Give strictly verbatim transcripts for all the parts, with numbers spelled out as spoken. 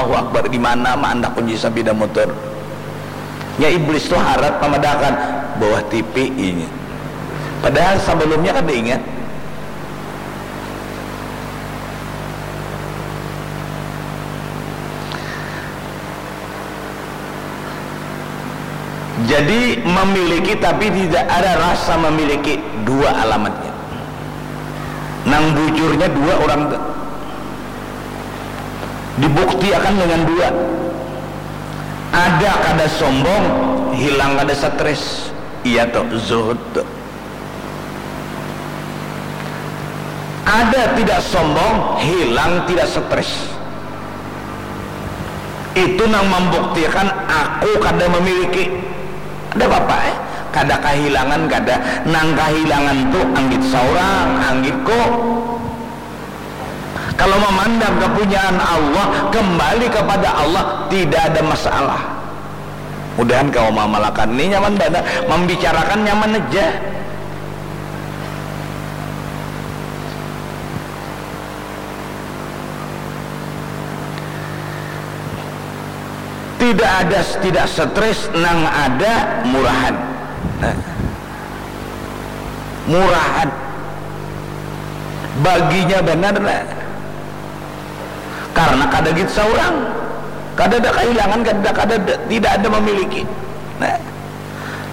Allahu Akbar, di mana ma andak kunci sapida mutur. Nya iblis tu harat mamadahakan bawah T V inya. Padahal sabalumnya kada ingat. Jadi, memiliki tapi tidak ada rasa memiliki, dua alamatnya. Nang bujurnya dua orang tu. Dibuktiakan dengan dua. Ada kada sombong, hilang kada stres. Iya tu, zuhud tu. Ada tidak sombong, hilang tidak stres. Itu nang membuktikan aku kada memiliki. Ada apa-apa, eh? Kada kahilangan, kada. Nang kahilangan tu anggit saurang, anggitku. Kalau memandang kepunyaan Allah, kembali kepada Allah, tidak ada masalah. Mudahan kawa mamalakan. Ni nyaman banar, mambicarakan nyaman aja. Tidak ada, tidak stres, nang ada murahan. Nah. Murahan. Baginya banar, nah. Karena kada git saurang. Kada ada kahilangan, kada, kada ada, tidak ada memiliki. Nah.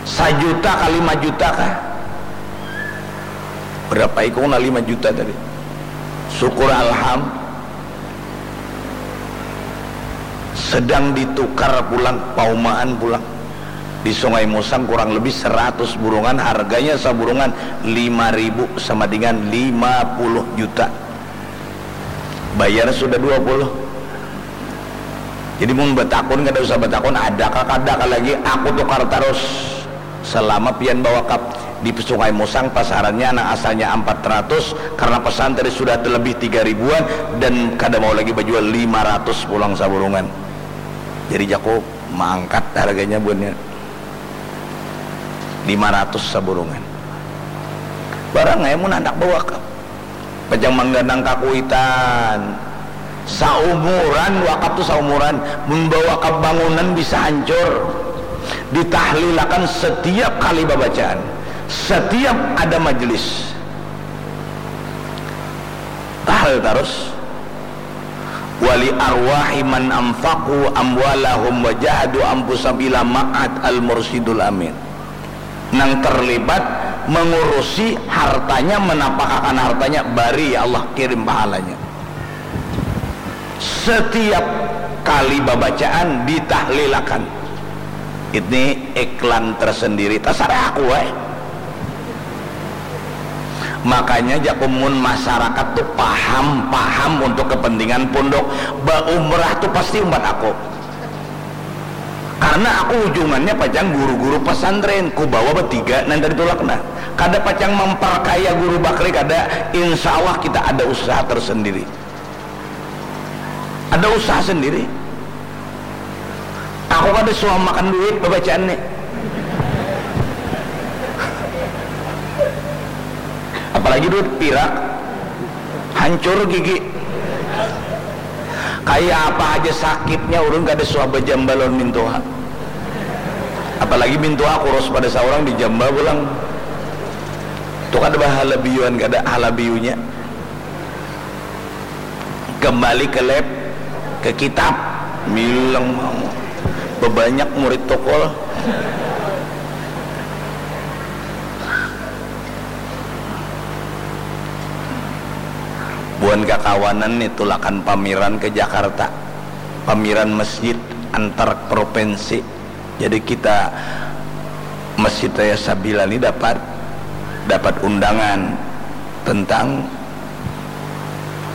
Sajuta ka lima juta kah? Berapa ikung, nah, lima juta tadi? Syukur alham. Sedang ditukar pulang, paumaan pulang. Di Sungai Musang kurang lebih seratus burungan, harganya saburungan lima ribu sama dengan lima puluh juta. Bayar sudah dua puluh. Jadi mun batakun, kada usah batakun, ada kah, kada kah lagi, aku tukar tarus. Selama pian bawakaf di Sungai Musang, pasarannya nang asalnya empat ratus, karena pesantren sudah terlebih tiga ribuan dan kada mau lagi bajual, lima ratus pulang saburungan. Jadi jaku maangkat harganya buhannya. Lima ratus saburungan. Barang ai mun handak bawakaf. Pacang mangganang kakuitan. Saumuran, wakaf tu saumuran. Mun bawakaf bangunan bisa hancur. Ditahlilakan setiap kali babacaan. Setiap ada majlis. Tahlil tarus. Wali arwahi man anfaqu amwalahum wa jahadu anfusahum ila ma'ad al mursyidul amin. Nang terlibat mengurusi hartanya, menapakakan hartanya, bari ya Allah kirim pahalanya. Setiap kali babacaan ditahlilakan. Ini iklan tersendiri, tasarah aku ai. Makanya jaku mun masyarakat tu paham, paham untuk kepentingan pondok, baumrah tu pasti umpat aku. Karena aku ujungannya pacang guru-guru pesantren, ku bawa betiga nang tadi tulak nah. Kada pacang memperkaya guru bakri, kada. Insya Allah kita ada usaha tersendiri. Ada usaha sendiri. Aku kada suah makan duit babacaan ni. Apalagi duit pirak, hancur gigi. Kaya apa haja sakitnya, ulun kada suah bajamba lawan mintuha. Apalagi mintuha kurus pada saurang, dijamba pulang. Tu kada bahalabiuan, kada halabiunya. Kembali ke lab, ke kitab. Milang mau. Bebanyak murid tokol. Buhan kakawanan ni tulakan pameran ke Jakarta. Pameran masjid antar provinsi. Jadi kita, Masjid Raya Sabila ni dapat, dapat undangan tentang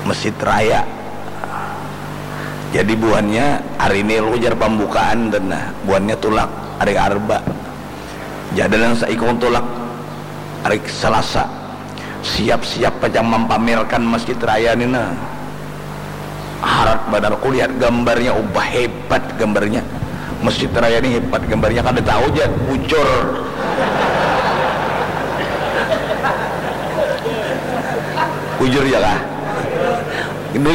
Masjid Raya. Jadi buhannya hari ini, ujar, pembukaan, dan nah, buhannya tulak hari Arba. Jadi nang saikung tulak hari Selasa. Siap-siap pacang mampamerkan Masjid Raya ni nah. Harat banar, kulihat gambarnya, ubah, hebat gambarnya. Masjid Raya ni hebat gambarnya, kada tahu ja bujur. Bujur ja kah? Ini